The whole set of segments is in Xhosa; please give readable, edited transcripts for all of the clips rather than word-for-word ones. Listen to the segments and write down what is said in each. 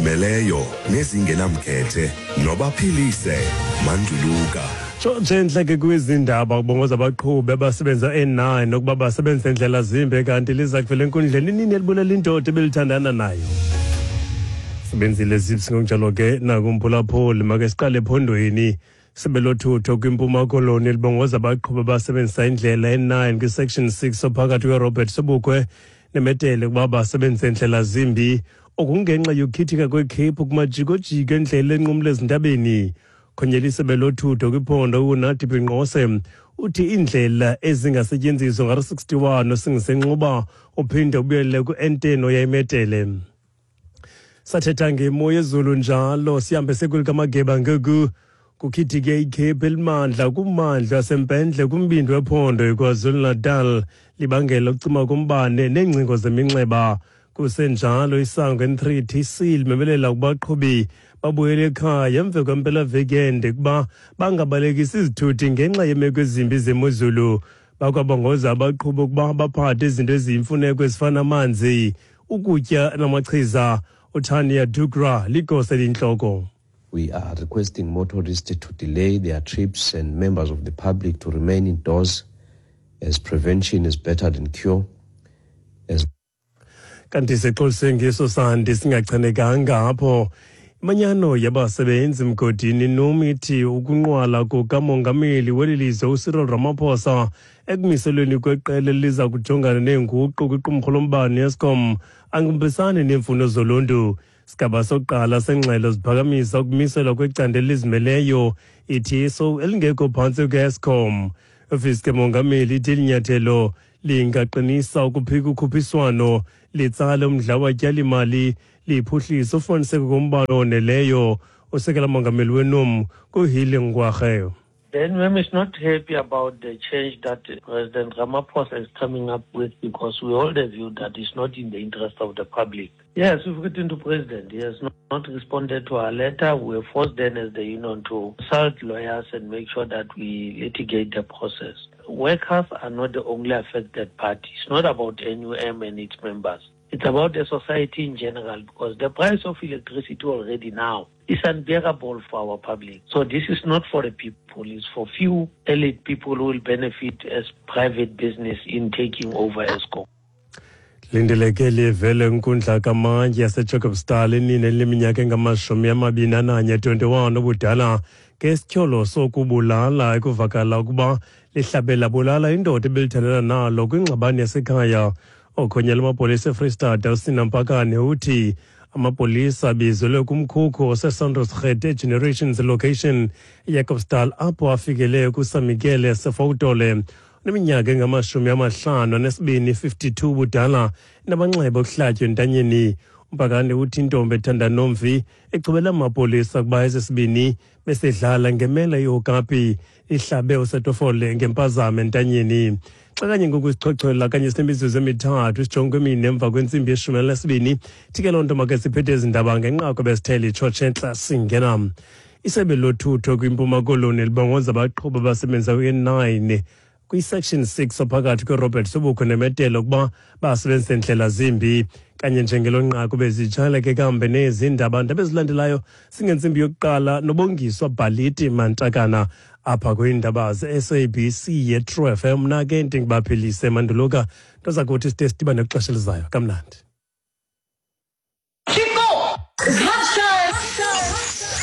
Ezizimeleyo nezingenamkhethe nobaphilise Manduluka. Tshontshe entle ke kwizindaba, kubongoza abaqhubi abasebenza e-9 ukuba basebenzise ndlela zimbi, kanti liza kuvela enkundleni inini elibulela indoda ebelithandana nayo. Sebenzile zips ngokunjalo ke nakumphulaphuli. Make siqale ephondweni. Sebe lothutho kwiMpuma Koloni libongoza abaqhubi abasebenzisa indlela e-9 kwi-section 6 ophakathi kweRobert Sobukwe neMetele ukuba basebenzise ndlela zimbi, okungenxa yokukhithika kwekhephu kumajikojiko endlela enqumla ezintabeni. Khonyela isebe lothutho kwiphondo uNathi Binqose uthi iindlela ezingasetyenziswa ngaro-61 osingisenxuba uphinde ubuyele ku-N10 oya eMetele. Sathetha ngemo yezulu njalo, sihambe sekulikamageba ngoku. Kukhithike ikhephu elimandla kummandla wasempendle kumbindi wephondo iKwaZulu-Natal, libangela ukucima kombane neengcingo zeminxeba. Kusenjalo, isango N3 TC limemelela kubaqhubi babuyele ekhaya emva kwempelaveki ende ukuba bangabalekisi izithuthi ngenxa yeemeko ezimbi zemozulu. Bakwabongoza abaqhubi ukuba baphathe izinto eziyimfuneko ezifana amanzi, ukutya namachiza. UTania Dugra ligosa eliyintloko. We are requesting motorists to delay their trips and members of the public to remain indoors, as prevention is better than cure. As Kanti sixolise ngeso sandi singachanekanga apho. Imanyano yabasebenzi mgodini NUM ithi ukunqwala kukamongameli weli lizwe uCyril Ramaphosa ekumiselweni kweqela eliza kujongana neenguqu kwiqumrhu lombane Eskom angihambisani neemfuno zoluntu. Sigaba sokuqala sengxelo ziphakamisa ukumiselwa kwecandelo elizimeleyo iTSO elingekho phantsi kwe-Eskom. Ofisi kemongameli ithi eli nyathelo lingaqinisa ukuphika ukhuphiswano, litsale umdla watyali-mali, liphuhlise ufumaniseko kombane oneleyo. Usekela mongameli weNUM kuHili Ngwarhe. The NUM is not happy about the change that President Ramaphosa is coming up with, because we hold the view that it's not in the interest of the public. Yes, we've written to President. He has not responded to our letter. We were forced then as the union to consult lawyers and make sure that we litigate the process. Workers are not the only affected party. It's not about NUM and its members. It's about the society in general, because the price of electricity already now is unbearable for our public. So this is not for the people, it's for few elite people who will benefit as private business in taking over Eskom. Lindeleke livele inkundla kamantyi yaseJacobsdal inina eliminyaka engama-21, 21 ubudala, ngesityholo sokubulala, ekuvakala ukuba lihlabe labulala indoda ebelithandana nalo kwingxabano yasekhaya. Okhonyela amapolisa eFreystata uSina Mpakane uthi amapolisa abizelwe kumkhukhu oseSandrosgate eGenerations location eJacobsdal, apho afikele kuSamikele Sefowutole neminyaka engama-52, 52 budala, namanxeba okuhlatywa entanyeni. Umpakane uthi intombi ethanda nomfi echubela amapolisa ukuba esi sibini besidlala ngemela yokapi, ihlabe uSetofole ngempazamo entanyeni. Xa kanye ngoku sichochola kanye sinemizuzu emi-3 sijonge kwemine emva kwentsimbi ye-12. Thi ke loo nto make siphethe ezi ndaba ngenqaku besithele itshotshe entla singena. Isebe lothutho kwiMpuma Koloni libongoza abaqhubi abasebenza kwi-9 kwi-section 6 ophakathi kweRobert Sobukwe neMetele ukuba basebenzise ndlela zimbi. Kanye njengelo nqaku bezitshala ke kambe nezi ndaba. Ndaba ezilandelayo singentsimbi yokuqala noBongiswa Bhaliti Mantakana apha kwiindaba ze-SABC ye-True FM. Mna ke ndingubaphilise Manduluka, nto zakuthi side sidibane kwixesha elizayo. Kamnandi.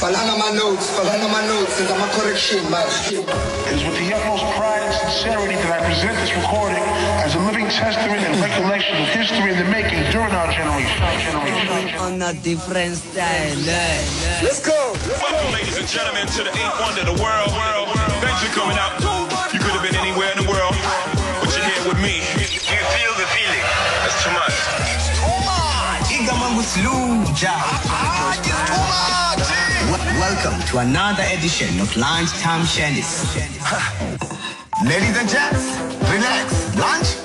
Bhalani ama-notes, bhalani ama-notes, senza ama-correction manje. It is with the utmost pride and sincerity that I present this recording as a living testament and recollection of history in the making during our generation. Generation. On a different style, eh? Let's go. Welcome, ladies and gentlemen, to the eighth wonder of the world. Thanks for coming out. You could have been anywhere in the world, but you're here with me. Do you feel the feeling? That's too much. Igama nguSluja. Welcome to another edition of Lunchtime Shandies. Ladies and gents, relax. Lunch